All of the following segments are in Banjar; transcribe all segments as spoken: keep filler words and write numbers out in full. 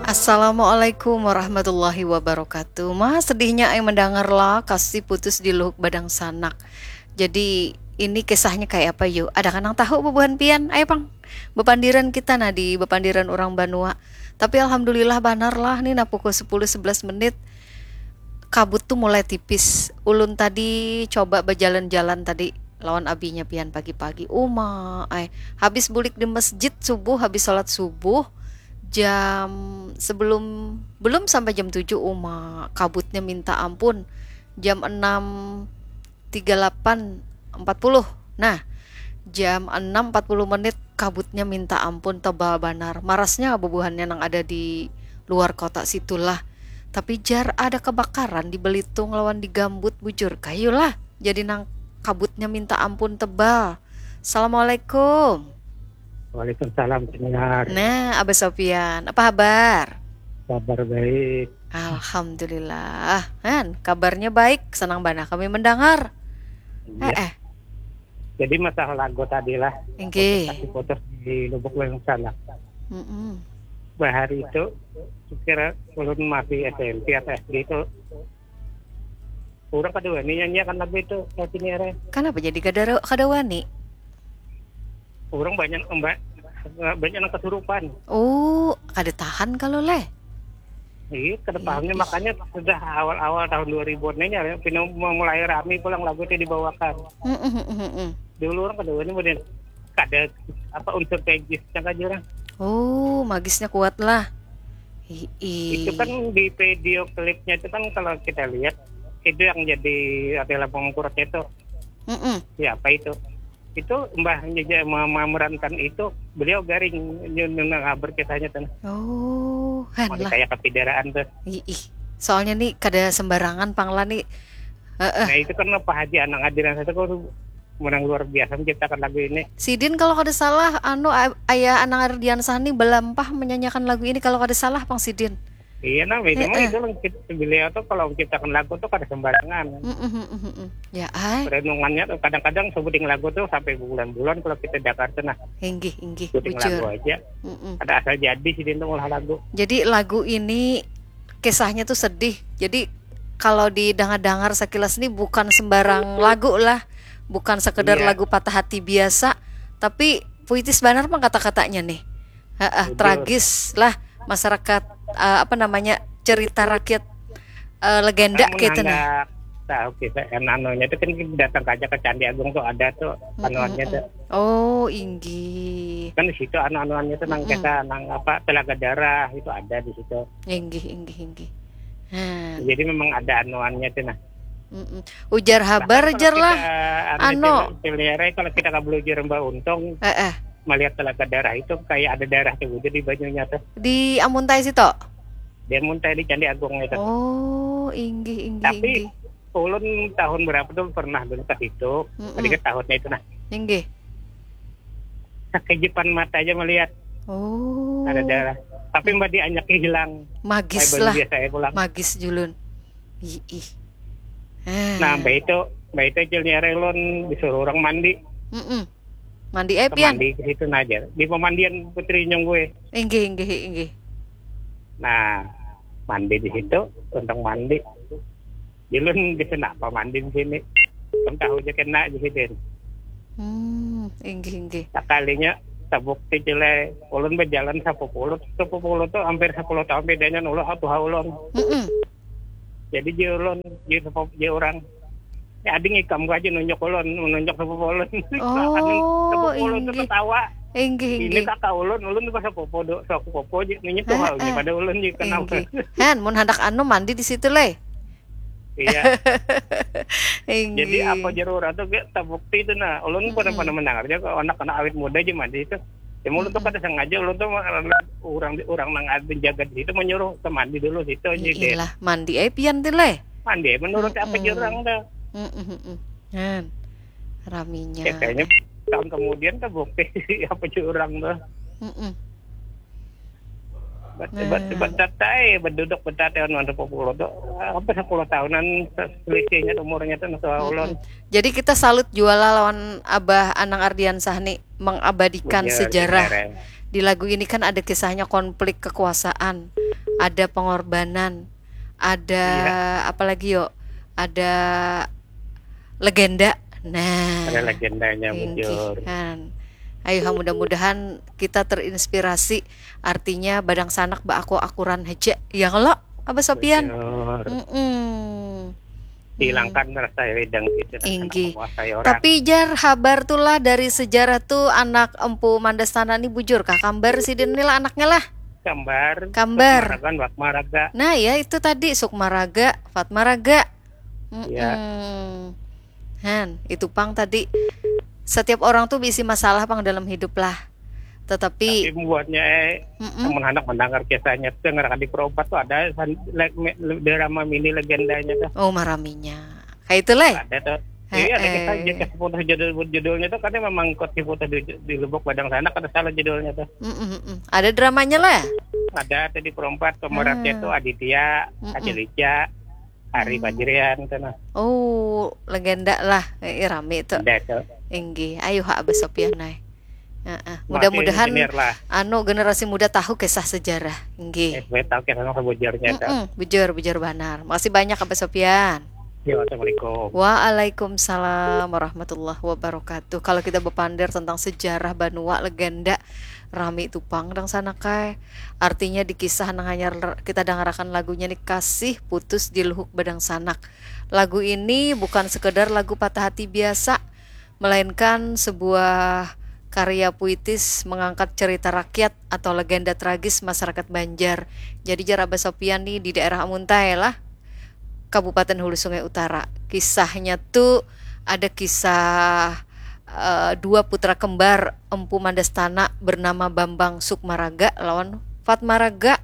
Assalamualaikum warahmatullahi wabarakatuh. Ma sedihnya ai mendangar lah, kasi putus di Luhuk Badang Sanak. Jadi ini kisahnya kayak apa yu? Ada kan nang tahu bubuhan pian? Ayo pang, bepandiran kita nah di bepandiran orang banua. Tapi alhamdulillah banar lah nih, nah pukul sepuluh sebelas menit kabut tuh mulai tipis. Ulun tadi coba berjalan-jalan tadi lawan abinya pian pagi-pagi. Uma, ay, habis bulik di masjid subuh, habis sholat subuh jam sebelum belum sampai jam tujuh, uma, kabutnya minta ampun. Jam enam tiga lapan empat puluh. Nah, jam enam empat puluh menit kabutnya minta ampun tebal banar. Marasnya bubuhannya nang ada di luar kota situlah. Tapi jar ada kebakaran di Belitung lawan di Gambut, bujur kayulah. Jadi nang kabutnya minta ampun tebal. Assalamualaikum. Waalaikumsalam, pendengar. Nah, Abah Sofian, apa habar? Kabar baik. Alhamdulillah. Han, kabarnya baik, senang banget kami mendengar. Ya. Eh, eh. Jadi masalah lagu tadi lah. Inggih. Putus di Lubuk Lengsan lah. Mm -mm. Bahari itu kira ulun masih S M P atau S D itu Orang kada wani nyanyiakan lagu itu, lagu ini arah. Kenapa jadi kada kada wani? Orang banyak banyak yang kesurupan. Oh, kada tahan kalau leh. Iya, kada tahannya makanya sudah awal-awal tahun dua ribuan ini ya, pina mulai rame pulang lagu itu dibawakan. Mm -mm, mm -mm. Dulu orang kada wani, kemudian kada apa unsur magisnya aja lah. Oh, magisnya kuat lah. Hiih. Itu kan di video klipnya itu kan kalau kita lihat itu yang jadi Atela Pengkurut itu. Mm -mm. Siapa itu? Itu mbahnya aja memerankan itu, beliau garing nyun ngabar kisahnya tuh. Oh, han lah. Kayak kepidaraan tuh. Hiih. Soalnya nih kada sembarangan pangla nih. Uh -uh. Nah, itu kan Pak Haji Anang Adiran satu kok menang luar biasa menciptakan lagu ini. Sidin kalau kada salah, anu ayah Anang Ardiansah nih belampah menyanyiakan lagu ini kalau kada salah pang Sidin. Iya nah, itu mah itu beliau tuh kalau menciptakan lagu tuh kada sembarangan. Mm -mm, mm -mm. Ya ay. Renungannya tuh kadang-kadang sebuting lagu tuh sampai bulan-bulan kalau kita Jakarta nah. Inggih, inggih. Sebuting lagu aja. Mm -mm. Ada asal jadi Sidin tuh olah lagu. Jadi lagu ini kisahnya tuh sedih. Jadi kalau didengar-dengar sekilas nih bukan sembarang lagu lah. Bukan sekedar iya. Lagu patah hati biasa, tapi puitis banar pang kata-katanya nih. Heeh, tragis lah masyarakat uh, apa namanya cerita rakyat uh, legenda gitu nah. Tahu kita kan anunya itu kan datang aja ke Candi Agung tuh ada tuh anuannya tuh. Oh, inggih. Kan di situ anu-anuannya tuh nang kita nang apa telaga darah itu ada di situ. Inggih, inggih, inggih. Hmm. Jadi memang ada anuannya tuh nah. Mm -mm. Ujar habar jar lah. Anu, anu. Kalau kita kabelujur Mbak Untung, eh, eh. Melihat telaga darah itu kayak ada darah tuh di banyunya tuh. Di Amuntai situ? Di Amuntai di Candi Agung itu. Oh, inggih inggih. Tapi inggih. Ulun tahun berapa tuh pernah dulu ke situ. Mm -mm. Ketika tahunnya itu nah. Inggih. Sakejipan mata aja melihat. Oh. Ada darah. Tapi mbak dianyak hilang. Magis lah. Biasa ya pulang. Magis julun. Ih. Nah, mbak itu, mbak itu jilnya relon disuruh orang mandi. Mm -mm. Mandi eh pian. Mandi ke situ aja. Di pemandian Putri Nyong gue. Inggih, inggih, inggih. Nah, mandi di situ, untuk mandi. Julun di sana apa mandi di sini. Kan tahu aja kena di sini. Hmm, inggih, inggih. Sekalinya terbukti jelai ulun berjalan sapupulut, sapupulut tuh hampir sepuluh tahun bedanya nulu satu ulun. Mm -mm. Jadi dia ulun, dia, dia orang ya ading ikam gua aja nunjuk ulun, menunjuk sapupulut. Oh, sapupulut tuh ketawa. Inggih, inggih. Ini kakak ulun, ulun tuh sapupu, sapupu aja nunjuk tuh hal pada ulun juga kenapa. Han, mun hendak anu mandi di situ leh. Iya. Jadi apa jar urang tuh gak terbukti itu nah. Ulun pernah pernah mendengar aja kok anak-anak awet muda aja mandi itu. Ya ulun tuh kada sengaja ulun tuh orang orang nang ada jaga di situ menyuruh ke mandi dulu situ aja deh. Iyalah, mandi eh pian tuh leh. Mandi eh menurut apa jar urang tuh. Kan raminya. Ya, kayaknya tahun kemudian terbukti apa jar urang tuh. Bat, nah. Bat, bat, tatai, beduduk betatai anu anu puluh tu. Apa sepuluh tahunan selisihnya umurnya tu nang ulun. Jadi kita salut jua lah lawan Abah Anang Ardiansah nih mengabadikan sejarah. Di lagu ini kan ada kisahnya konflik kekuasaan, ada pengorbanan, ada Iya. apa lagi yo? Ada legenda. Nah, Ada legendanya inggih bujur. Han. Ayo ha, mudah-mudahan kita terinspirasi. Artinya badangsanak baaku-akuran haja. Ya kalo, Abah Sopian? Bujur. Mm-mm. Hilangkan rasa iri dengki kita Inggih. Menguasai orang. Tapi jar habar tulah dari sejarah tu anak Empu Mandastana ni bujur kah? Kambar sidin ni lah anaknya lah. Kambar. Kambar. Maragan, Wak Maraga. Nah ya itu tadi Sukmaraga, Fatmaraga. Ya. Mm-mm. Han, itu pang tadi. Setiap orang tuh bisi masalah pang dalam hidup lah. Tetapi Tapi buatnya eh, Mm-mm. teman anak mendengar kisahnya tuh dengar di perompat tuh ada san- le- me- drama mini legendanya tuh. Oh, maraminya. Kayak itu lah. Ada tuh. Heeh. Iya, ada kisah kisah putus judul judulnya tuh karena memang ikut diputus di, di Lubuk Badangsanak, kada salah judulnya tuh. Mm-mm-mm. Ada dramanya lah. Ada tuh di perompat pemerannya Hmm. tuh Aditya, Mm-mm. Ajelica, Ari Hmm. Fajrian tuh nah. Oh, legenda lah. Eh, rame tuh. Ada tuh. Inggih, ayo ha Abah Sopian ai. Heeh. Masih Mudah-mudahan senior lah. Anu generasi muda tahu kisah sejarah. Inggih. Eh, gue tahu kisah sama bujurnya tuh. Mm-mm, bujur, bujur banar. Makasih banyak Abah Sopian. Ya, assalamualaikum. Waalaikumsalam warahmatullahi wabarakatuh. Kalau kita berpander tentang sejarah banua legenda, rami tupang dangsanak ai. Artinya di kisah nang hanyar kita dangarakan lagunya ni Kasih Putus di Luhuk Badangsanak. Lagu ini bukan sekedar lagu patah hati biasa, melainkan sebuah karya puitis mengangkat cerita rakyat atau legenda tragis masyarakat Banjar. Jadi jar Abah Sopian nih di daerah Amuntai lah, Kabupaten Hulu Sungai Utara. Kisahnya tuh ada kisah eh, dua putra kembar Empu Mandastana bernama Bambang Sukmaraga lawan Fatmaraga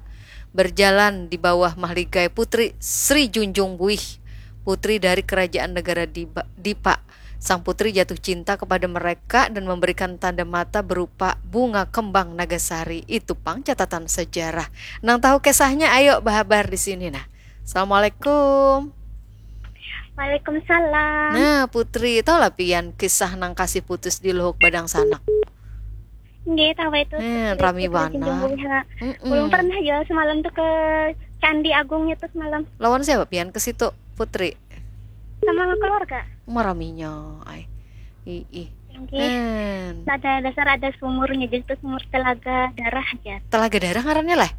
berjalan di bawah mahligai Putri Sri Junjung Buih, putri dari Kerajaan Negara Diba- Dipa. Sang putri jatuh cinta kepada mereka dan memberikan tanda mata berupa bunga kembang nagasari. Itu pang catatan sejarah. Nang tahu kisahnya ayo bahabar di sini nah. Assalamualaikum. Waalaikumsalam. Nah, Putri, tahu lah pian kisah nang kasih putus di Luhuk Badangsanak? Nggih, tahu itu. Hmm, Putri rami Putri Tanjung banar. Buih, ha. Mm-mm. Ulun pernah juga semalam tuh ke Candi Agungnya tuh semalam Lawan siapa pian ke situ, Putri? Sama keluarga. Maraminya ai. Ih, ih. Nggih. Hmm. Ada dasar ada sumurnya, jadi tuh sumur Telaga Darah aja. Telaga Darah ngarannya lah?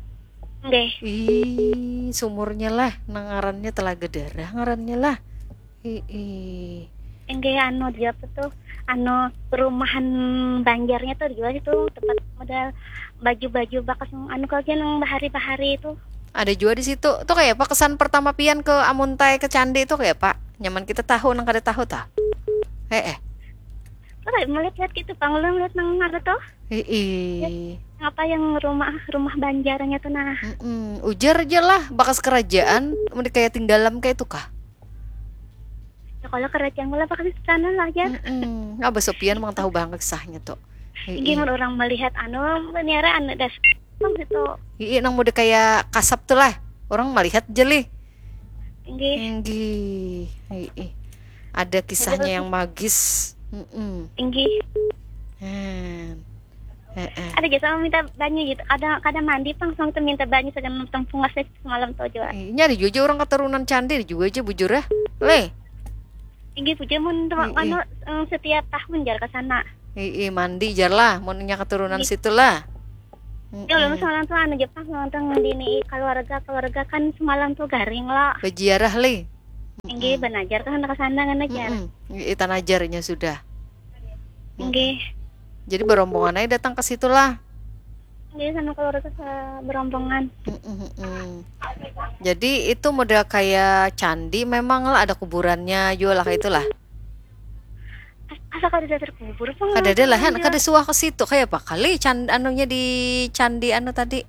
Nggih. Ih, sumurnya lah, nang ngarannya Telaga Darah ngarannya lah. Ih, ih. Nggih, anu dia apa tuh? Anu perumahan Banjarnya tuh juga situ tempat modal baju-baju bakas anu kerja nang bahari-bahari itu. Ada juga di situ. Tuh kayak apa kesan pertama pian ke Amuntai ke Candi tuh kayak apa? Nyaman kita tahu nang kada tahu tah. Eh eh. Tuh kayak melihat-lihat gitu, Bang, lu lihat nang ada tuh. Ih, ih. Apa yang rumah rumah Banjarnya tuh nah. Mm-mm. Ujar aja lah bakas kerajaan, mun kayak tinggalam kayak itu kah? Ya kalau kerajaan lah pakai sana lah aja. Mm-mm. Abah Sopian mang tahu banget kisahnya tuh. Ih, Ini ih. Mun orang melihat anu, niara anu das gitu. Ih, ih, nang muda kayak kasap tuh lah. Orang melihat aja lih. Nggih. Inggih. Ih, ih. Ada kisahnya yang magis. Mm-mm. Nggih. Hmm. Heeh. Ada juga sama minta banyu gitu. Ada kada mandi pang sama tuh minta banyu sagan tempung semalam tuh juga. Ini ada juga aja orang keturunan Candi juga aja bujur ya. Leh. Nggih, puja mun tuh Mm-mm. anu em, setiap tahun jar ke sana. Ih, ih, mandi jar lah, mun nya keturunan Ih. situ lah. Ya ulun semalam tuh anu Jepang nonton di ini keluarga keluarga kan semalam tuh garing lah. Beziarah lih. Nggih, banajar kan ke sana kan ajar. Mm-mm. Ih, tanajarnya sudah. Nggih. Jadi berombongan aja datang ke situ lah. Nggih sama keluarga sa- berombongan. Mm-mm, mm-mm. Jadi itu model kayak candi memang lah ada kuburannya juga lah kayak itulah. Asa kada ada terkubur apa? Kada ada lah kan, kada suah ke situ kayak apa kali can anunya di candi anu tadi.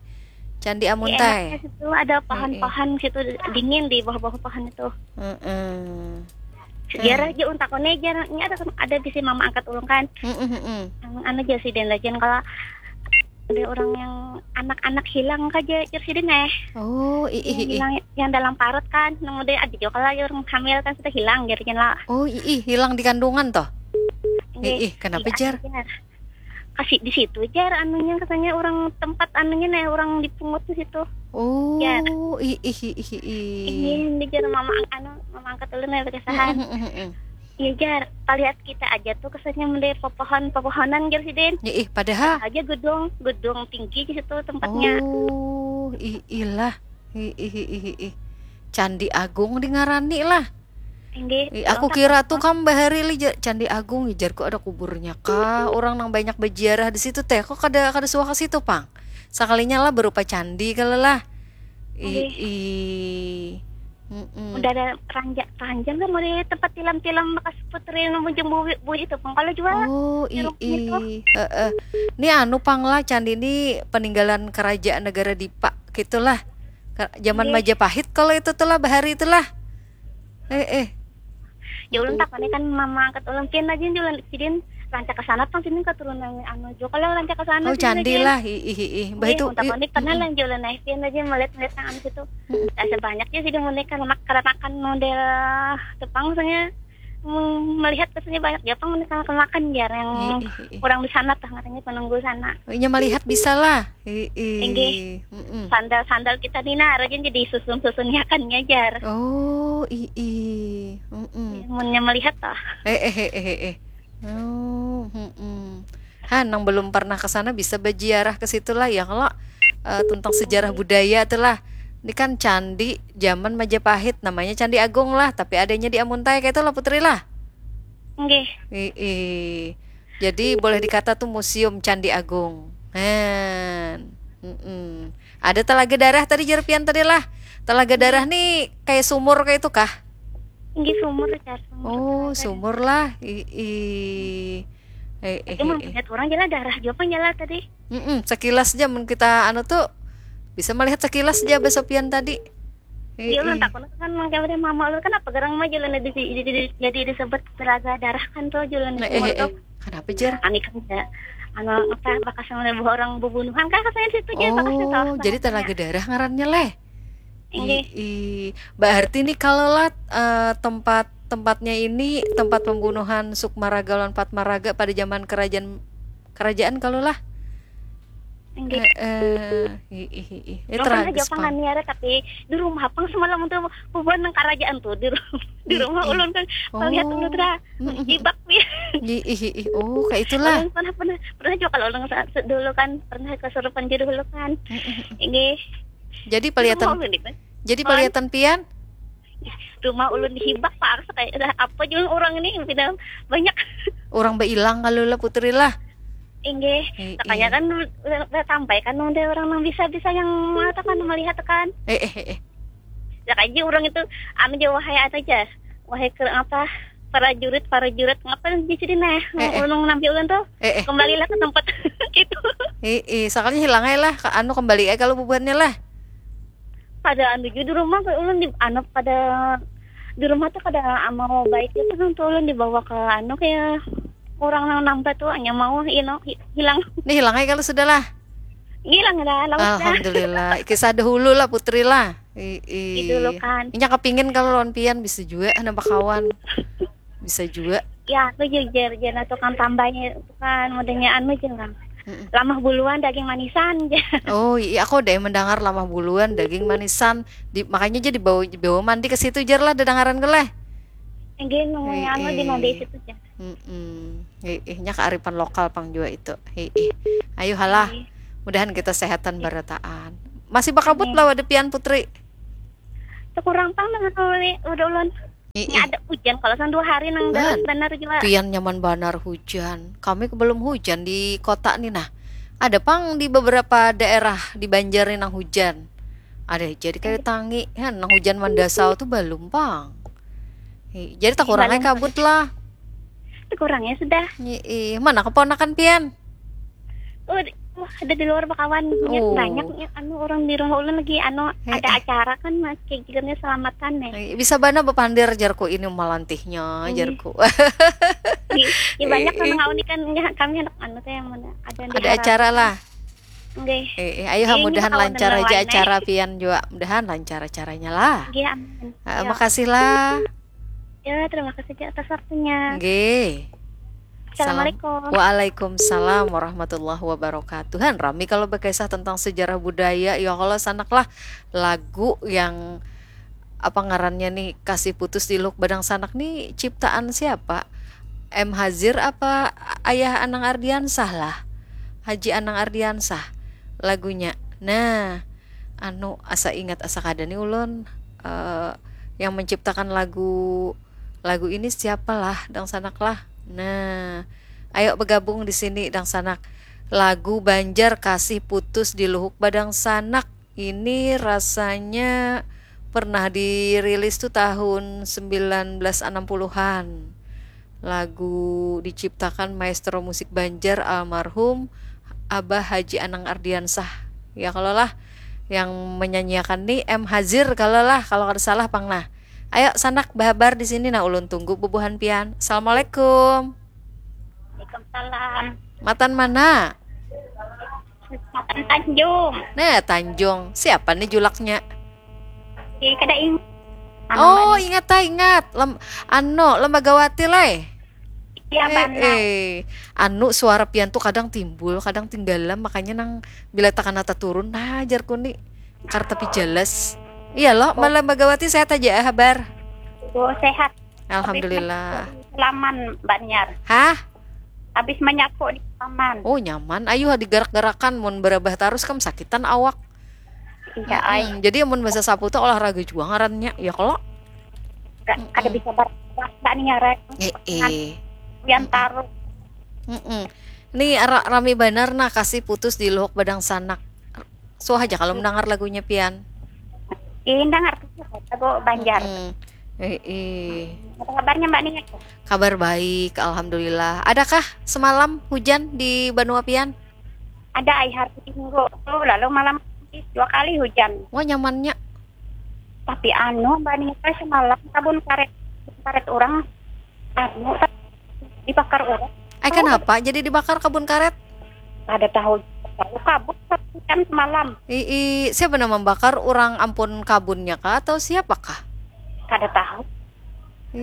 Candi Amuntai. Itu ada pohon-pohon situ dingin di bawah-bawah pohon itu. Mm-mm. Sejarah aja untak one jarang ini ada ada bisa mama angkat ulung kan. Mm-mm, mm-mm. Yang anu aja sih dan lagian kalau ada orang yang anak-anak hilang aja jar sidin eh. Oh, ih, ih, ih. Hilang yang dalam parut kan, nang udah ada juga kalau orang hamil kan sudah hilang jarinya lah. Oh, ih, ih, hilang di kandungan toh. Nggih. Ih, ih, kenapa Iya, jar? jar. kasih di situ jar anunya, katanya orang tempat anunya nih, orang dipungut di situ. Oh, ih ih ih ih. Ini jar mama, anu, mama angkat ulun nih kesahan. Iya jar, palihat kita aja tuh kesannya mendek pepohon pepohonan jar sidin. Ih, padahal aja gedung gedung tinggi di situ tempatnya. Oh, ih ilah. Ih ih ih ih. Candi Agung dingarani lah. Inggih. Aku kira tuh kam bahari li Candi Agung, jarku ada kuburnya kah, orang nang banyak berziarah di situ teh, kok kada kada suah ke situ pang, sakalinya lah berupa candi kalau lah. Ih. Udah ada ranja ranjang kan mulai tempat tilam-tilam bekas putri nang bujung buih buih itu pang kalau juga. Oh, ih. Heeh. Ni anu pang lah, candi ni peninggalan kerajaan negara Dipa gitulah. Zaman Majapahit kalau itu tuh lah, bahari itulah. Eh eh. Ya ulun takutnya kan mama angkat ulun pian aja, ulun sidin rancak ke sana pang, sidin keturunan anu juga kalau rancak ke sana. Oh, candi lah. Ih ih ih. Bah itu. Takutnya pernah lah ulun naik pian aja melihat melihat nang anu situ. Rasa banyak ya sidin muni karena karena makan model Jepang, soalnya melihat kesannya banyak Jepang muni karena makan jar yang kurang di sana tah, katanya penunggu sana. Inya melihat bisa lah. Ih ih. Sandal sandal kita ni nah rajin jadi susun susun yakannya jar. Oh ih ih. Munnya melihat tah. Eh eh eh eh eh. Oh, hmm. Ha, nang belum pernah ke sana bisa berziarah ke situ lah ya kalau uh, tentang sejarah budaya tuh lah. Ini kan candi zaman Majapahit, namanya Candi Agung lah, tapi adanya di Amuntai kayak itu lah Putri lah. Nggih. Ih, ih. Jadi boleh dikata tuh museum Candi Agung. Han. Mm-mm. Ada telaga darah tadi jar pian tadi lah. Telaga darah nih kayak sumur kayak itu kah? Nggih sumur jar. Sumur. Oh, sumur lah. Ih, ih. Eh, eh, Cuma eh, eh. Lihat orang jalan darah juga pun jalan tadi. Mm-mm, sekilas aja mun kita anu tuh bisa melihat sekilas aja besopian tadi. Iya ulun takut kan mangkanya mama ulun kan apa gerang mah jalan di jadi disebut telaga darah kan tuh jalan di eh, eh, eh. Kenapa jar? Ani kan ya anu apa bakas orang bubunuhan kan katanya situ aja bakas itu. Oh, jadi telaga darah ngarannya leh. Ih, berarti nih kalau lah uh, tempat tempatnya ini tempat pembunuhan Sukmaraga lawan Patmaraga pada zaman kerajaan kerajaan kalau lah. Enggak. Eh, eh, ih, ih, ih. Eh, tragis pang. Pang niara tapi di rumah pang semalam tuh bubuhan nang kerajaan tuh di rumah, di rumah ulun kan melihat ulun tra jibak dia. Ih, ih, ih. Oh, kayak itulah. Ulun pernah pernah pernah juga kalau ulun dulu kan pernah kesurupan dulu kan. Ini. Jadi pelihatan. Jadi pelihatan pian? Rumah ulun dihibak pak kayak apa juga orang ini pindah banyak. Orang beilang kalau lah putri lah. Inggih, makanya kan sampai kan udah orang yang bisa-bisa yang mengatakan melihat kan. Eh eh eh. Ya kaji orang itu anu aja wahai anu aja. Wahai ke apa prajurit prajurit ngapa di sini nah eh, eh. Ulun nampi ulun tuh eh, eh. Kembalilah ke tempat gitu. Eh, eh. Soalnya hilang aja lah anu kembali aja kalau bubuhannya lah. Pada anu juga di rumah ulun di anu pada di rumah tuh kada mau baik itu nang tuh ulun dibawa ke anu kayak orang nang nampak tuh hanya mau you know, hilang. Ini hilang aja kalau sudah lah. Hilang dah, lawas dah. Alhamdulillah. Kisah dahulu lah putri lah. Ii. Gitu lo kan. Inya kepingin kalau lawan pian bisa juga nambah kawan. Bisa juga. Ya, aku jujur jangan tukang tambahnya itu kan modenya anu jangan. Lamah buluan daging manisan. Oh iya, aku deh mendengar lamah buluan daging manisan. Di, makanya jadi bawa bawa mandi ke situ jar lah dengaran gue lah. Enggak, nunggunya anu di mandi situ jar. Mm-mm. Ih, nya kearifan lokal pang jua itu. Ih, ih. Ayo halah. Ih. Mudahan kita sehatan barataan. Masih bakabut lah wadah pian Putri. Sekurang pang dengan uli udah ulun. Ih, ih. Ada hujan kalau sang dua hari nang darat benar juga. Pian nyaman banar hujan. Kami belum hujan di kota nih nah. Ada pang di beberapa daerah di Banjar nih nang hujan. Ada jadi kayak tangi. Ya, nang hujan mandasau tuh belum pang. Jadi tak kurangnya kabut lah. Kurangnya sudah. Ih, mana keponakan pian? Oh, wah, ada di luar bakawan. Banyak, oh. Banyak anu orang di rumah ulun lagi anu eh, ada eh. Acara kan mas kayak gitu selamatan nih. Eh, bisa bana bepandir jarku ini malantihnya hmm. Jarku. Iya banyak eh, kan eh. Kami anak anu teh yang mana ada, ada acara lah. Nggih. Eh, eh, ayo mudahan lancar aja acara pian juga. Mudahan lancar acaranya lah. Nggih, amin. Uh, makasih lah. Ya, terima kasih atas waktunya. Nggih. Assalamualaikum. Waalaikumsalam warahmatullahi wabarakatuh. Han, rami kalau bakisah tentang sejarah budaya, ya kalau sanak lah lagu yang apa ngarannya nih, Kasih Putus di Luk Badang Sanak nih ciptaan siapa? M Hazir apa Ayah Anang Ardiansah lah? Haji Anang Ardiansah lagunya. Nah, anu asa ingat asa kada nih ulun eh, yang menciptakan lagu lagu ini siapa lah dang sanak lah. Nah, ayo bergabung di sini dang sanak. Lagu Banjar Kasih Putus di Luhuk Badang Sanak ini rasanya pernah dirilis tuh tahun sembilan belas enam puluhan. Lagu diciptakan maestro musik Banjar almarhum Abah Haji Anang Ardiansah. Ya kalau lah yang menyanyiakan nih M Hazir kalau lah kalau kada salah pang nah. Ayo sanak bahabar di sini nah ulun tunggu bubuhan pian. Assalamualaikum. Waalaikumsalam. Matan mana? Matan Tanjung. Nah, Tanjung. Siapa nih julaknya? Di kada ingat. Oh, ingat ah, ingat. Lem, anu, Lembagawati lai. Iya, eh, benar. Eh, anu suara pian tuh kadang timbul, kadang tinggalam, makanya nang bila takana taturun, nah jarku ni kar tapi jelas. Iya loh, oh. Lembagawati sehat aja habar. Oh, sehat. Alhamdulillah. Selaman Mbak Niar. Hah? Habis menyapu di taman. Oh, nyaman. Ayo digerak-gerakan mun berabah terus kam sakitan awak. Iya, ai. Hmm, jadi mun bahasa sapu tuh olahraga juga ngarannya, ya kalau Gak, kada bisa ber Mbak Niar. Eh, eh. Yang taruh. Mm-mm. Nih ra rami banar nah kasih putus di Luhuk Badang Sanak. Suah aja kalau mendengar lagunya pian. Ih, dengar tuh lagu Banjar. Mm. Eh, eh. Apa kabarnya Mbak Niar? Kabar baik, alhamdulillah. Adakah semalam hujan di Banua pian? Ada ai hari Minggu tuh, lalu malam dua kali hujan. Wah, nyamannya. Tapi anu Mbak Niar semalam kabun karet, karet orang anu dibakar orang. Eh, kenapa jadi dibakar kabun karet? Ada tahu, lalu kabut kan semalam. Ii, siapa nama membakar orang ampun kabunnya kah atau siapakah? Kada tahu.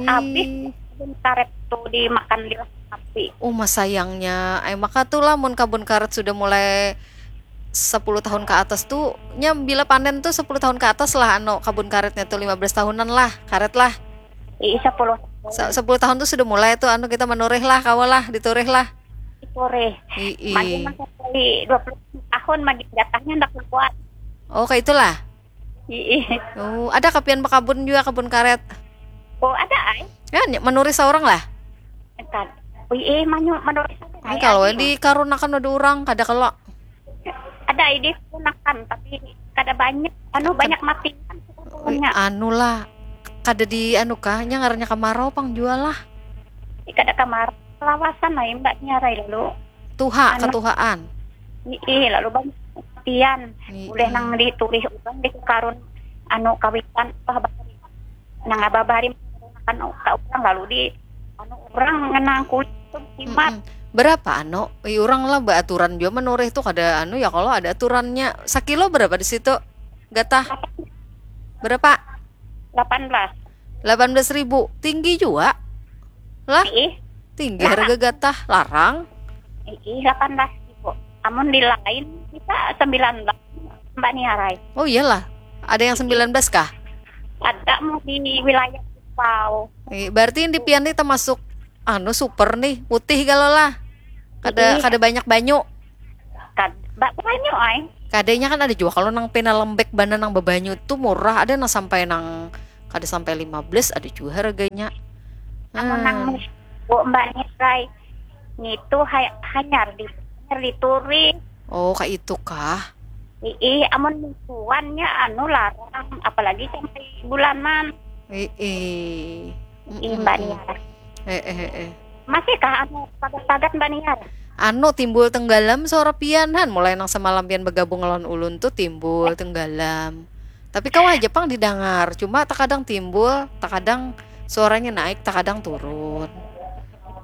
Habis kabun karet tuh dimakan liwat sapi. Oh, mas sayangnya. Eh, maka tuh lah mun kabun karet sudah mulai sepuluh tahun ke atas tuh, nya bila panen tuh sepuluh tahun ke atas lah anu kabun karetnya tuh lima belas tahunan lah, karet lah. Ii, sepuluh tahun. Se- sepuluh tahun tuh sudah mulai tuh anu kita menurih lah, kawa lah, diturih lah. Diturih. Ii. Makin sampai dua puluh tahun makin jatahnya ndak kuat. Oh, kayak itulah. Ii. Oh, ada kapian bakabun juga, kabun karet. Oh, ada ai. Ya, ny- menurih seorang lah. Kan. Ii, manyu menurih saya. Ini kalau dikarunakan ada orang, kada kalau. Ada ai dikarunakan, tapi kada banyak. Anu, banyak mati. Ui, anu lah, kada di anu kah, nya ngarannya kemarau pang jua lah. Ih, kada kemarau, kelawasan lah Mbak Niar ai lalu. Tuha, Anu. Ketuhaan. Ii, lalu banyak kematian. Ii. Boleh nang diturih orang di karun anu kawitan apa habari. Nang apa habari kan ka orang lalu di anu orang ngenang kulit tuh jimat. Mm-mm. Berapa anu? Ih, orang lah beraturan juga menurih tuh kada anu ya kalau ada aturannya. Sakilo berapa di situ? Gatah. Berapa? Delapan belas. Delapan belas ribu. Tinggi juga. Lah, Ih, tinggi harga gatah, larang. Ih, delapan belas ribu. Amun di lain kita sembilan belas, Mbak Niar ai. Oh iyalah, ada yang sembilan belas kah? Ada mau di wilayah Kupau. Eh, berarti yang di pian nih termasuk anu super nih, putih kalau lah. Kada Ih. Kada banyak banyu. Kad, Mbak, banyu ai. Kadanya kan ada juga kalau nang pina lembek bana nang bebanyu tuh murah, ada nang sampai nang kada sampai lima belas ada juga harganya. Amun nang Hmm. Bu Mbak Niar ai. Nitu hay, hanyar di hanyar diturih. Oh, kayak itu kah? Ii, amun mingguannya anu larang, apalagi sampai bulanan. Eh, eh. Ii, Mbak Niar. Eh, eh, eh. Masih kah anu pagat-pagat Mbak Niar? Anu timbul tenggalam suara pian han, mulai nang semalam pian bergabung lawan ulun tuh timbul tenggalam. Tapi kau aja pang didengar, cuma terkadang timbul, terkadang suaranya naik, terkadang turun.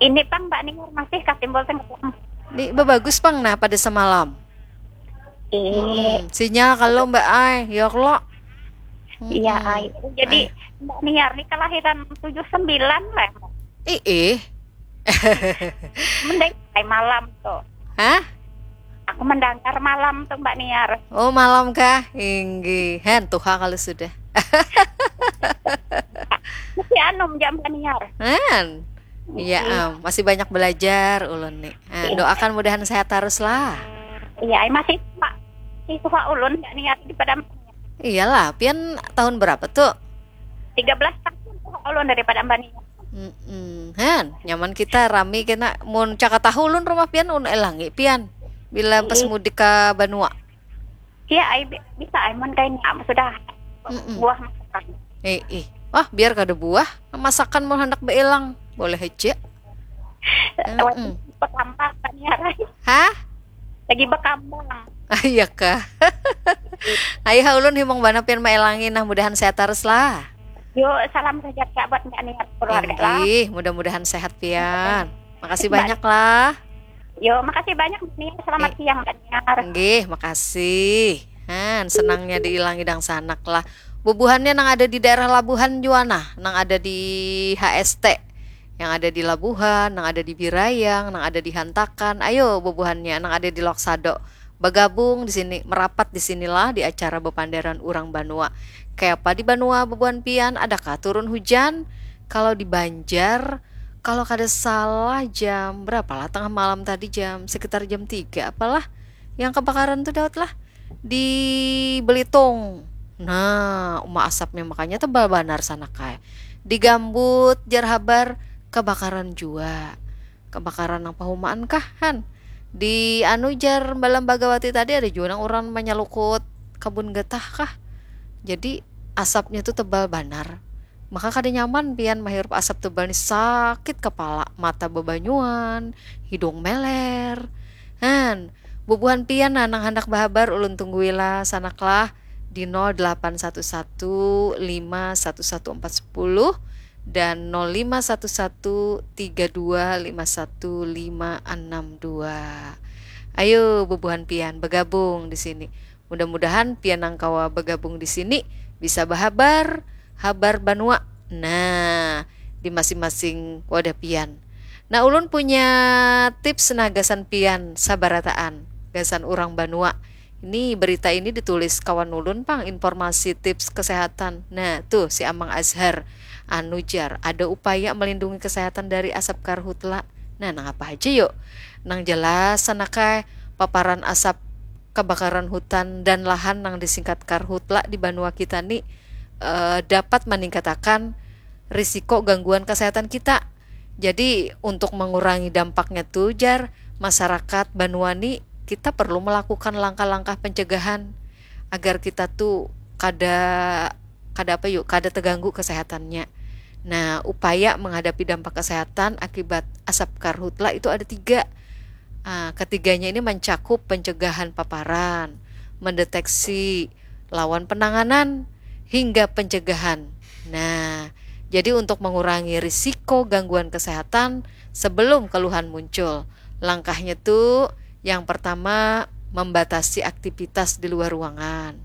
Ini pang Mbak Niar masih kah timbul tenggalam? Ini bagus pang nah pada semalam. Ih, Hmm, sinyal kalau Mbak ai, ya kalau. Iya, ai. Jadi Mbak Niar nih kelahiran tujuh sembilan lah. Ih, ih. Mending malam tuh. Hah? Aku mendengar malam tuh Mbak Niar. Oh, malam kah? Inggih. Hen, tuha kalau sudah. Masih anum jam Mbak Niar. Hen. Iya, am. Masih banyak belajar ulun nih. Ah, doakan mudahan sehat terus lah. Iya, masih Pak. Si tuha ulun Mbak Niar di pada Iyalah, pian tahun berapa tuh? Tiga belas tahun tuha ulun daripada Mbak Niar. Mm-mm. Han, nyaman kita rami kena mun caka tahu ulun rumah pian un elangi pian bila pas mudik ke Banua. Iya, ai bi- bisa ai mun kain am sudah Mm-mm. buah masakan. Eh, ih. Wah, biar kada buah, masakan mun hendak beelang. Boleh aja. Mm-mm. Berkambang Mbak Niar. Hah? Lagi berkambang. Ah, iya kah? Ayo ha ulun himung bana pian maelangi nah mudahan sehat terus lah. Yuk, salam sejahtera buat Mbak Niar keluarga lah. Inggih, mudah-mudahan sehat pian. Makasih banyak lah. Yo, makasih banyak Mbak Niar. Selamat siang Mbak Niar. Inggih, makasih. Han, senangnya diilangi dangsanak lah. Bubuhannya nang ada di daerah Labuhan jua nah, nang ada di H S T, yang ada di Labuhan, nang ada di Birayang, nang ada di Hantakan. Ayo bubuhannya nang ada di Loksado bagabung di sini, merapat di sinilah di acara bepanderan urang Banua. Kayapa di Banua bubuhan pian, adakah turun hujan? Kalau di Banjar, kalau kada salah jam berapa lah, tengah malam tadi, jam sekitar jam tiga apalah, yang kebakaran tuh Daud lah di Belitung. Nah, uma asapnya makanya tebal banar sana kae. Di Gambut jar habar kebakaran jua. Kebakaran nang pahumaan kah han? Di anu jar Balambagawati tadi ada jua nang urang manyalukut kabun getah kah. Jadi asapnya tuh tebal banar. Maka kada nyaman pian mahirup asap tebal ni, sakit kepala, mata bebanyuan, hidung meler. Han, bubuhan pian nah nang handak bahabar ulun tunggui lah sanak lah di nol delapan satu satu lima satu satu empat sepuluh dan nol lima satu satu tiga dua lima satu lima enam dua. Ayo bubuhan pian bagabung di sini. Mudah-mudahan pian nang kawa bagabung di sini bisa bahabar habar Banua. Nah, di masing-masing wadah pian. Nah, ulun punya tips nah gasan pian sabarataan, gasan urang Banua. Ini berita ini ditulis kawan ulun pang, informasi tips kesehatan. Nah, tuh si Amang Azhar anu jar, ada upaya melindungi kesehatan dari asap karhutla. Nah, nang apa aja yuk? Nang jelas sana kae paparan asap kebakaran hutan dan lahan nang disingkat karhutla di Banua kita ni eh, dapat meningkatakan risiko gangguan kesehatan kita. Jadi untuk mengurangi dampaknya tuh jar masyarakat Banua ni kita perlu melakukan langkah-langkah pencegahan agar kita tuh kada kada apa yuk kada terganggu kesehatannya. Nah, upaya menghadapi dampak kesehatan akibat asap karhutla itu ada tiga. Ah, ketiganya ini mencakup pencegahan paparan, mendeteksi lawan penanganan, hingga pencegahan. Nah, jadi untuk mengurangi risiko gangguan kesehatan sebelum keluhan muncul, langkahnya tuh yang pertama membatasi aktivitas di luar ruangan,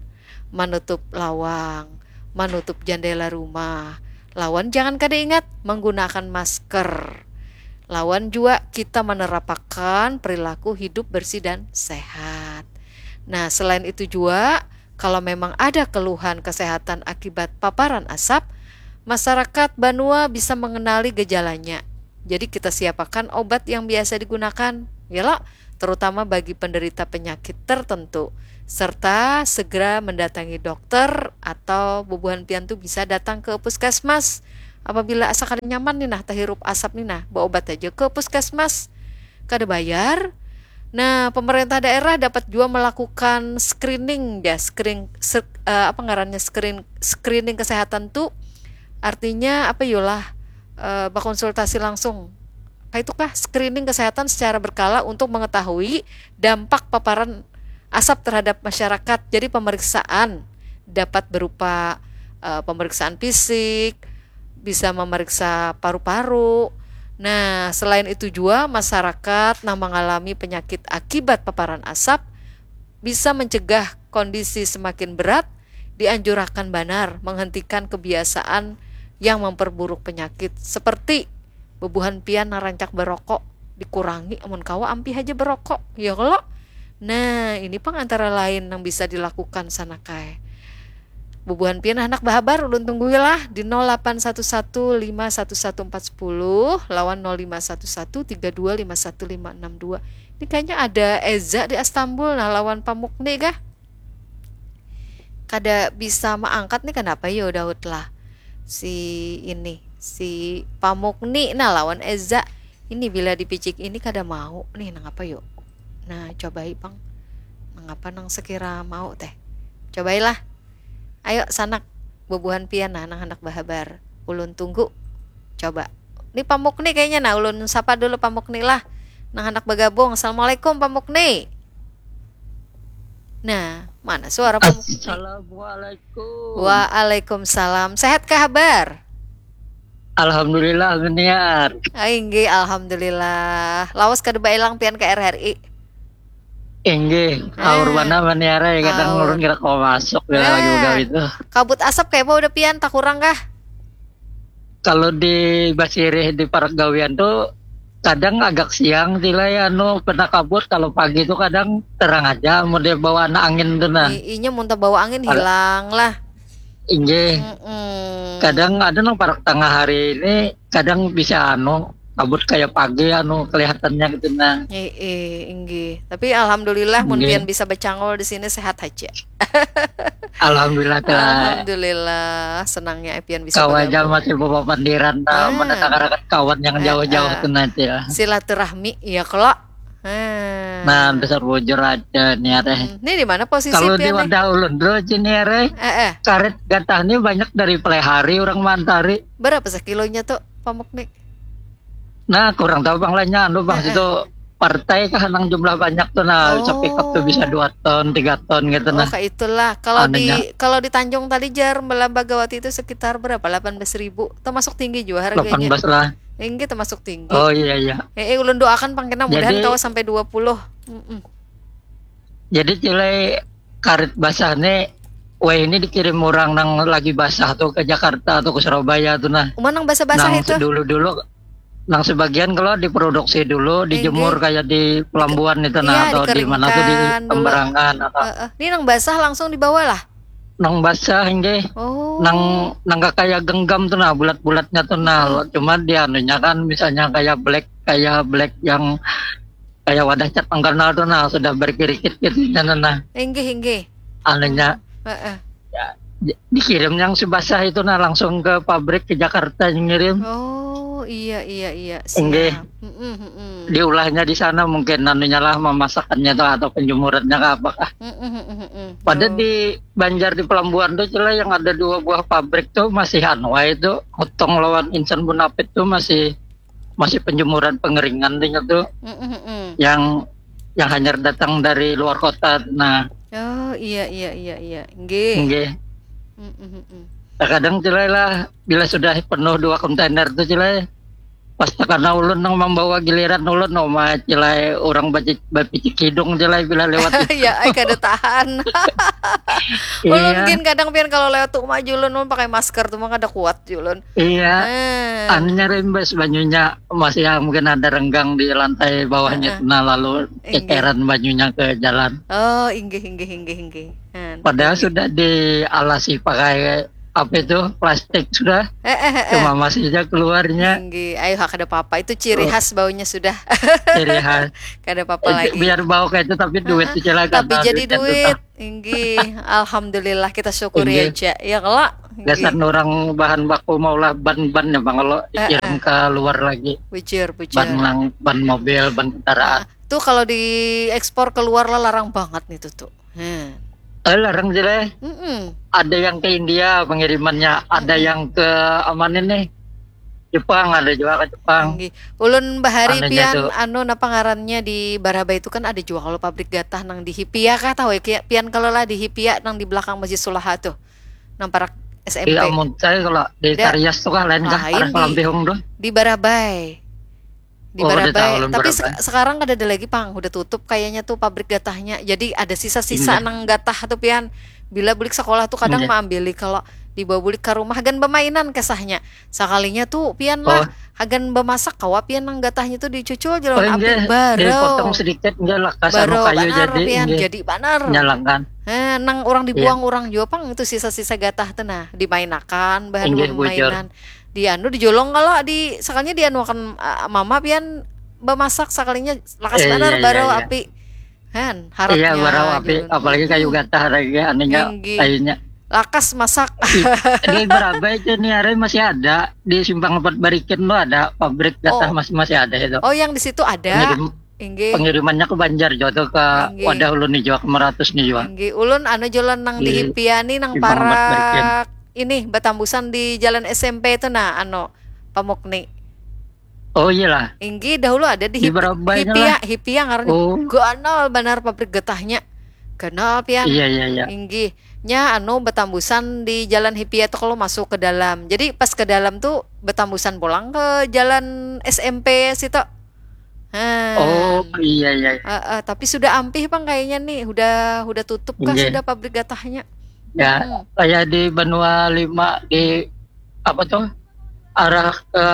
menutup lawang, menutup jendela rumah, lawan jangan kada ingat menggunakan masker. Lawan jua kita menerapakan perilaku hidup bersih dan sehat. Nah, selain itu jua, kalau memang ada keluhan kesehatan akibat paparan asap, masyarakat Banua bisa mengenali gejalanya. Jadi kita siapakan obat yang biasa digunakan, ya lo, terutama bagi penderita penyakit tertentu, serta segera mendatangi dokter atau bubuhan pian tuh bisa datang ke puskesmas. Apabila asa kada nyaman nih nah, tahirup asap nih nah, berobat aja ke puskesmas. Kada bayar. Nah, pemerintah daerah dapat juga melakukan screening ya, screen, ser- eh, apa ngarannya screen screening kesehatan tuh artinya apa yolah eh, berkonsultasi langsung. Apa itu kah screening kesehatan secara berkala untuk mengetahui dampak paparan asap terhadap masyarakat. Jadi pemeriksaan dapat berupa eh, pemeriksaan fisik, bisa memeriksa paru-paru. Nah, selain itu jua masyarakat nang mengalami penyakit akibat paparan asap bisa mencegah kondisi semakin berat, dianjurkan banar menghentikan kebiasaan yang memperburuk penyakit seperti Bubuhan pian nang rancak barokok, dikurangi, amun kawa ampih haja barokok, ya kalo? Nah, ini pang antara lain nang bisa dilakukan, sanak ai. Bubuhan pian handak bahabar, ulun tunggui lah di nol lapan satu satu lima satu satu empat sepuluh lawan nol lima satu satu tiga dua lima satu lima enam dua. Ini kayaknya ada Eza di Astambul, nah, lawan Pamukni kah? Kada bisa maangkat nih, kanapa yo Daud lah? Si ini, si Pamukni, nah, lawan Eza. Ini bila dipicik ini kada mau nih, nangapa yo? Nah, cobai pang. Nangapa nang sekira mau teh? Cobailah. Ayo, sanak, bubuhan pian nah nang handak bahabar. Ulun tunggu. Coba. Ni Pamukni kayaknya, nah, ulun sapa dulu Pamukni lah. Nang handak bagabung. Assalamualaikum, Pamukni. Nah, mana suara Pamukni? Assalamualaikum. Waalaikumsalam. Sehat kah habar? Alhamdulillah, Maniar. Ah, inggih, alhamdulillah. Lawas kada baelang pian ka R R I. Inggih, aur mana Maniar ai, kadang Aur. Ulun kira kawa masuk bila Ah. lagi begawi tu. Kabut asap kayak apa udah pian, takurang kah? Kalau di basirih di parak gawian tu kadang agak siang sih lah ya, anu, pernah kabut, kalau pagi tu kadang terang aja, mau dia bawa anak angin tu nah. I- inya muntah bawa angin hilang lah. Inggih. Mm-mm. Kadang ada nang parak tengah hari ini, kadang bisa anu, kabut kayak pagi anu kelihatannya gitu nah. Eh, eh, inggih. Tapi alhamdulillah mun Inggih. pian bisa bacangol di sini sehat aja. Alhamdulillah telah. Alhamdulillah, senangnya pian bisa Kawan aja bergabung. Masih bawa pandiran nah, Ah. mendatangkan kawan yang Eh, jauh-jauh eh. tu nanti ya. Silaturahmi ya kalo. Hmm. Nah, besar bujur aja nih ya teh. Hmm, ini di mana posisi Kalau di pian nih? Wadah Ulun dulu sini ya, Rey. Eh, eh. Karet gatah ini banyak dari Pelehari orang mantari. Berapa sekilonya tuh, Pamuk nih? Nah, kurang tahu bang lainnya anu bang Eh, eh. Itu partai kah nang jumlah banyak tuh nah, Oh. Sepikap tuh bisa dua ton, tiga ton gitu Oh, nah. Kayak itulah. Kalau di Anunya. Kalau di Tanjung tadi jar Melambagawati itu sekitar berapa? Delapan belas ribu. Termasuk tinggi juga harganya. Delapan belas lah. Tinggi, termasuk tinggi. Oh iya iya. Eh, eh, ulun doakan pang kena mudahan Jadi- kawa sampai dua puluh. Mm-mm. Jadi cilai karet basah nih, weh ini dikirim orang nang lagi basah tuh ke Jakarta atau ke Surabaya tuh nah. Uma nang basah-basah Nang itu. Dulu-dulu nang sebagian kalau diproduksi dulu, Inggih. Dijemur kayak di Pelambuan itu nah, Iya, atau di mana tuh di dikeringkan dulu. Pemberangan atau Heeh. Ini nang basah langsung dibawa lah. Nang basah inggih. Oh. Nang nang kayak genggam tuh nah, bulat-bulatnya tuh nah. Cuma di anunya kan misalnya kayak black, kayak black yang kayak wadah cat mengkenal tuh nah, sudah berkirikit gitu nah. Inggih, inggih. Anunya Heeh. ya, di- dikirim yang si basah itu nah langsung ke pabrik ke Jakarta yang ngirim. Oh, iya, iya, iya. Inggih. Siap. Mm-mm, mm-mm. Diulahnya di sana mungkin anunya lah, memasakannya tuh atau penjemurannya ke apakah. Mm-mm, mm-mm, mm-mm. Pada Oh. di Banjar di Pelambuan tuh cilai yang ada dua buah pabrik tuh masih anu wae itu, Hutong lawan Insan Bunapit tuh masih masih penjemuran pengeringan tuh itu Mm-mm, mm-mm. yang yang hanyar datang dari luar kota. Nah, Oh, iya, iya, iya, iya. Nggih. nggih. Mm-mm, mm-mm. Kadang cilai lah bila sudah penuh dua kontainer tuh cilai pas tekana ulun nang membawa giliran ulun, oh ma cilai orang baci- bapicik hidung cilai bila lewat itu. Ya, ai kada tahan. Iya. Ulun gin kadang pian kalau lewat tuh mah julun ulun pakai masker tuh mah kada kuat julun. Iya. Eh. Anunya rimbas banyunya masih yang mungkin ada renggang di lantai bawahnya. Heeh. Nah, lalu Inggih. Ceceran banyunya ke jalan. Oh, inggih, inggih, inggih, inggih. Han. Padahal sudah dialasi pakai apa itu, plastik sudah. Eh, eh, eh, eh. Cuma masih aja keluarnya. Inggih. Ayo, ha, kada apa-apa. Itu ciri Oh. Khas baunya sudah. Ciri khas. Kada apa-apa Eh, lagi. Biar bau kayak itu tapi duit Heeh. itu cilai Tapi karena jadi duitnya duit. tetap. Inggih. Alhamdulillah, kita syukuri Inggih. Aja. Ya kalau. Inggih. Gasan orang bahan baku maulah ban-ban ya bang, kalau Eh, dikirim eh. Ke luar lagi. Bujur, bujur. Ban nang ban mobil, ban kendaraan. Ah, tuh kalau diekspor keluar lah larang banget nih tuh tuh. Hmm. Eh, larang cilai. Mm-mm. Ada yang ke India pengirimannya, ada Mm-mm. Yang ke mana nih? Jepang ada juga ke Jepang. Inggih. Ulun bahari Anunya pian tuh. Anu napa ngarannya di Barabai itu kan ada jua kalau pabrik gatah nang di Hipia kah tahu ya Kia- pian kalau lah di Hipia nang di belakang Masjid Sulaha tuh. Nang parak S M P. Di amun saya kalau di Da- Tarias tuh kah lain kah Lain arah di- Palampihung tuh. Di Barabai. Di Oh, udah Barabai. tahu, belum Tapi Barabai. se- sekarang kada ada lagi pang, udah tutup kayaknya tuh pabrik gatahnya. Jadi ada sisa-sisa Iya. Nang gatah tuh pian. Bila bulik sekolah tuh kadang Iya. Maambili kalau Dibawa bulik ka rumah hagan bamainan kesahnya. Sakalinya tu pian lah, Oh, hagan bamasak kawa pian nang gatahnya tu dicucul ja lawan oh api. Inggih, Barau. Dipotong sedikit Inggih, lakas anu Barau kayu banar jadi pian, Inggih, jadi banar. nyalakan. Heh, nang orang Iya, dibuang orang jua pang itu sisa-sisa gatah tu nah, dimainakan bahan Inggih, bujur. bamainan. Di anu dijolong kalo di sakalinya dianuakan ah, mama pian bamasak sakalinya lakas Eh, banar iya, iya, barau iya. Api. Han, Iya, barau haratnya api, julun. apalagi kayu Mm-mm. gatah lagi anunya, Inggih. kayunya. Lakas masak. Ih, di Barabai itu nih hari masih ada di Simpang Empat Barikin tuh ada pabrik gatah Oh, masih masih ada itu. Oh, yang di situ ada. Pengirim Inggih. Pengirimannya ke Banjar juga tuh ke Inggih. Wadah Ulun nih juga, ke Meratus nih juga. Inggih. Ulun anu jalan nang di Di Hipia nih nang Simpang Empat Barikin. Parak ini batambusan di jalan S M P itu nah anu Pamukni. Oh iyalah, Inggih, dahulu ada di di Hipi, Barabai itu Hipia, lah. Hipia ngarannya. Oh Ganal banar pabrik getahnya. Ganal pian. Iya, iya, iya. Inggih. Nya anu batambusan di jalan Hipia tuh kalau masuk ke dalam. Jadi pas ke dalam tuh batambusan pulang ke jalan S M P situ. Oh Han. Iya, iya, iya. Eh, eh, tapi sudah ampih pang kayaknya nih, udah udah tutup kah Inggih. Sudah pabrik gatahnya? Ya, Mm-mm. Kayak di Banua Lima di apa tuh, arah ke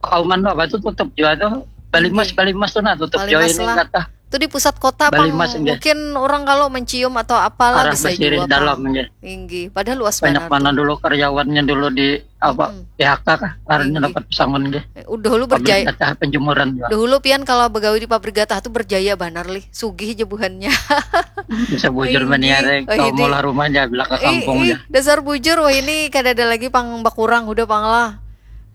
Kauman tuh apa tuh tutup juga tuh. Balimas, Inggih. Balimas tuh nah tutup jauh Balimas ini lah. Gatah. Itu di pusat kota pang. Balimas inggih. Mungkin orang kalau mencium atau apalah Arah bisa Basirih jua dalam pang. Inggih. Inggih. Padahal luas Banyak banar mana tuh. Dulu karyawannya dulu di apa, Mm-mm. P H K kah, karena Inggih. Dapat pesangon gih. Eh, Udah dulu Pabrik berjaya. Gatah penjemuran juga. Dahulu pian kalau begawi di pabrik gatah tuh berjaya banar lih. Sugih je buhannya. Bisa bujur Inggih. Maniare Oh, kau ini. Maulah rumah aja belakang Ih, kampung ih, ya. Dasar bujur wah ini kada ada lagi pang bakurang udah pang lah.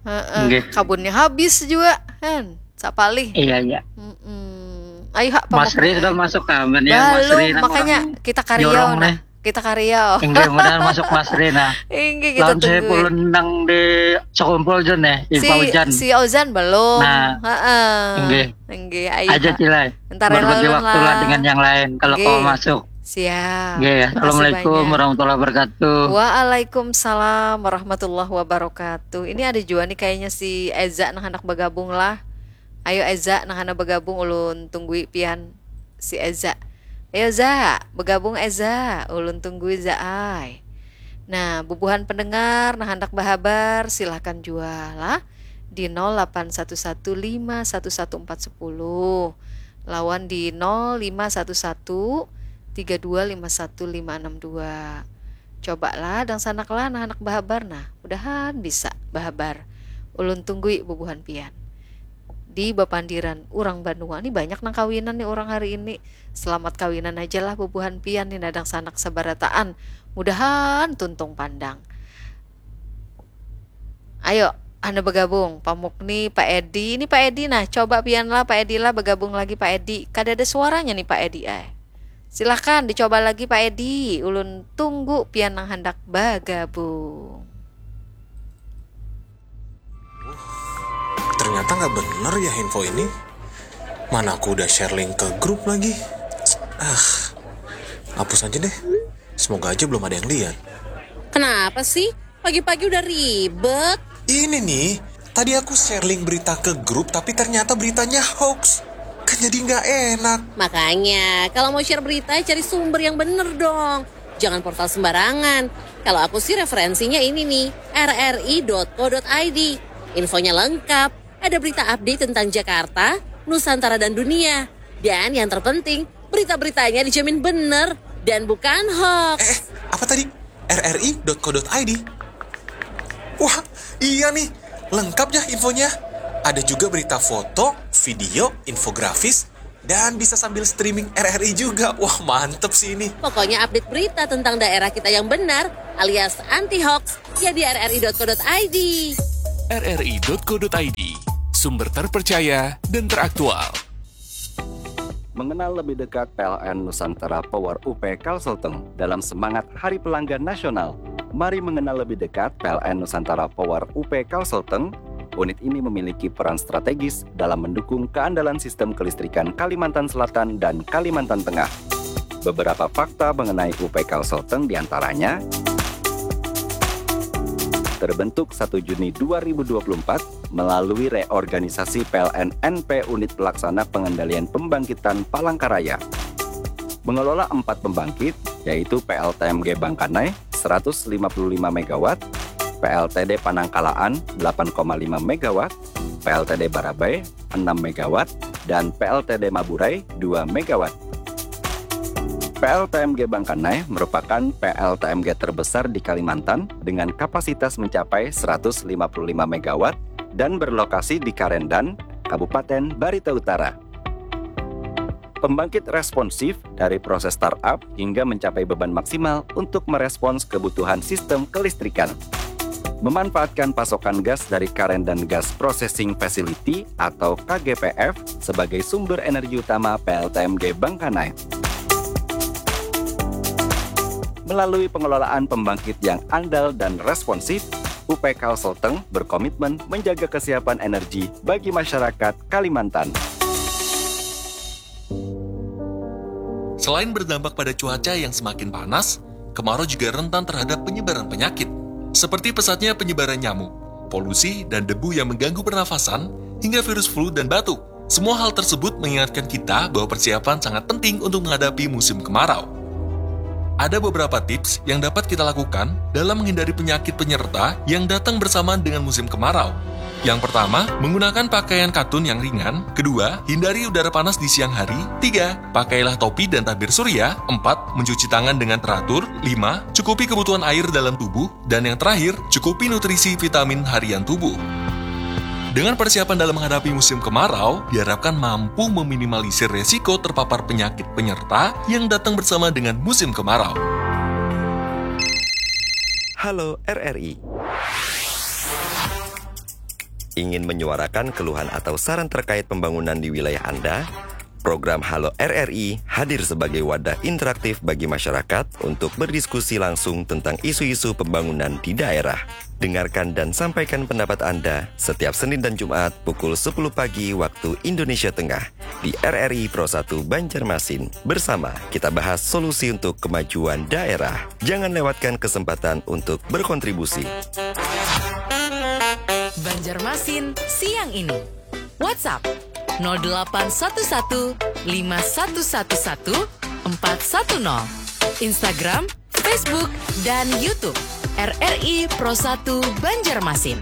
Heeh. Inggih. Kabunnya habis juga kan. Sapalih. Iya, iya. Mm-mm. Ayo hak Mas Ri pamuk. Sudah masuk kawan ya, Mas Belum, Ri nang makanya orang kita kariau jorong nah. Nih. Kita kariau. Inggih, mudahan masuk Mas Ri nah. Inggih, kita Lawan saya tunggu. Pulun nang di Sekumpul Jun ya, di Si Paujan. Si Ozan belum. Nah, Heeh. Inggih. Inggih, ayo Aja hak. Cilai. Entar ya Berbagi lawan waktu lah lah. Dengan yang lain kalau Inggih. Kau masuk. Siap. Inggih. Makasih Assalamualaikum banyak. Warahmatullahi wabarakatuh. Waalaikumsalam warahmatullahi wabarakatuh. Ini ada juga nih kayaknya si Eza nang hendak bergabung lah. Ayo Eza nang hendak bergabung ulun tunggui pian si Eza. Ayo Za, bergabung Eza, ulun tunggui Za ai. Nah, bubuhan pendengar nang hendak berhabar silahkan jua lah di nol delapan satu satu lima satu satu empat sepuluh lawan di nol lima satu satu tiga dua lima satu lima enam dua. Coba lah dangsanak lah nang handak bahabar nah, mudahan bisa bahabar. Ulun tunggui bubuhan pian. Di bapandiran urang banua ni banyak nang kawinan ni urang hari ini. Selamat kawinan aja lah bubuhan pian ni nah dangsanak sabarataan. Mudahan tuntung pandang. Ayo, anda bergabung. Pamuk ni Pak Edi. Ini Pak Edi nah, coba pian lah Pak Edi lah bergabung lagi Pak Edi. Kada ada suaranya nih Pak Edi ay. Silahkan dicoba lagi Pak Edi. Ulun tunggu pian nang handak bagabung. Ternyata nggak bener ya info ini. Mana aku udah share link ke grup lagi. Ah, hapus aja deh. Semoga aja belum ada yang lihat. Kenapa sih? Pagi-pagi udah ribet. Ini nih, tadi aku share link berita ke grup tapi ternyata beritanya hoax. Kan jadi nggak enak. Makanya, kalau mau share berita, cari sumber yang bener dong. Jangan portal sembarangan. Kalau aku sih referensinya ini nih, rri.co.id. Infonya lengkap, ada berita update tentang Jakarta, Nusantara dan dunia. Dan yang terpenting, berita-beritanya dijamin bener dan bukan hoax. Eh, apa tadi? rri.co.id. Wah, iya nih. Lengkap ya infonya. Ada juga berita foto, video, infografis, dan bisa sambil streaming R R I juga. Wah, mantep sih ini. Pokoknya update berita tentang daerah kita yang benar alias anti hoax ya di rri.co.id. rri.co.id, sumber terpercaya dan teraktual. Mengenal lebih dekat P L N Nusantara Power U P Kalselteng dalam semangat Hari Pelanggan Nasional. Mari mengenal lebih dekat P L N Nusantara Power U P Kalselteng. Unit ini memiliki peran strategis dalam mendukung keandalan sistem kelistrikan Kalimantan Selatan dan Kalimantan Tengah. Beberapa fakta mengenai U P Kalselteng diantaranya terbentuk satu Juni dua ribu dua puluh empat melalui reorganisasi P L N N P Unit Pelaksana Pengendalian Pembangkitan Palangkaraya. Mengelola empat pembangkit, yaitu P L T M G Bangkanai, seratus lima puluh lima megawatt, P L T D Panangkalaan delapan koma lima megawatt, P L T D Barabai enam megawatt, dan P L T D Maburai dua megawatt. P L T M G Bangkanai merupakan P L T M G terbesar di Kalimantan dengan kapasitas mencapai seratus lima puluh lima megawatt dan berlokasi di Karendan, Kabupaten Barito Utara. Pembangkit responsif dari proses startup hingga mencapai beban maksimal untuk merespons kebutuhan sistem kelistrikan. Memanfaatkan pasokan gas dari Karendan Gas Processing Facility atau K G P F sebagai sumber energi utama P L T M G Bangkanai. Melalui pengelolaan pembangkit yang andal dan responsif, U P Kalselteng berkomitmen menjaga kesiapan energi bagi masyarakat Kalimantan. Selain berdampak pada cuaca yang semakin panas, kemarau juga rentan terhadap penyebaran penyakit, seperti pesatnya penyebaran nyamuk, polusi, dan debu yang mengganggu pernafasan, hingga virus flu dan batuk. Semua hal tersebut mengingatkan kita bahwa persiapan sangat penting untuk menghadapi musim kemarau. Ada beberapa tips yang dapat kita lakukan dalam menghindari penyakit penyerta yang datang bersamaan dengan musim kemarau. Yang pertama, menggunakan pakaian katun yang ringan. Kedua, hindari udara panas di siang hari. Tiga, pakailah topi dan tabir surya. Empat, mencuci tangan dengan teratur. Lima, cukupi kebutuhan air dalam tubuh. Dan yang terakhir, cukupi nutrisi vitamin harian tubuh. Dengan persiapan dalam menghadapi musim kemarau, diharapkan mampu meminimalisir resiko terpapar penyakit penyerta yang datang bersama dengan musim kemarau. Halo R R I. Ingin menyuarakan keluhan atau saran terkait pembangunan di wilayah Anda? Program Halo R R I hadir sebagai wadah interaktif bagi masyarakat untuk berdiskusi langsung tentang isu-isu pembangunan di daerah. Dengarkan dan sampaikan pendapat Anda setiap Senin dan Jumat pukul sepuluh pagi waktu Indonesia Tengah di R R I Pro satu Banjarmasin. Bersama kita bahas solusi untuk kemajuan daerah. Jangan lewatkan kesempatan untuk berkontribusi. Banjarmasin siang ini. WhatsApp nol delapan satu satu lima satu satu satu empat satu nol. Instagram, Facebook, dan YouTube R R I Pro satu Banjarmasin.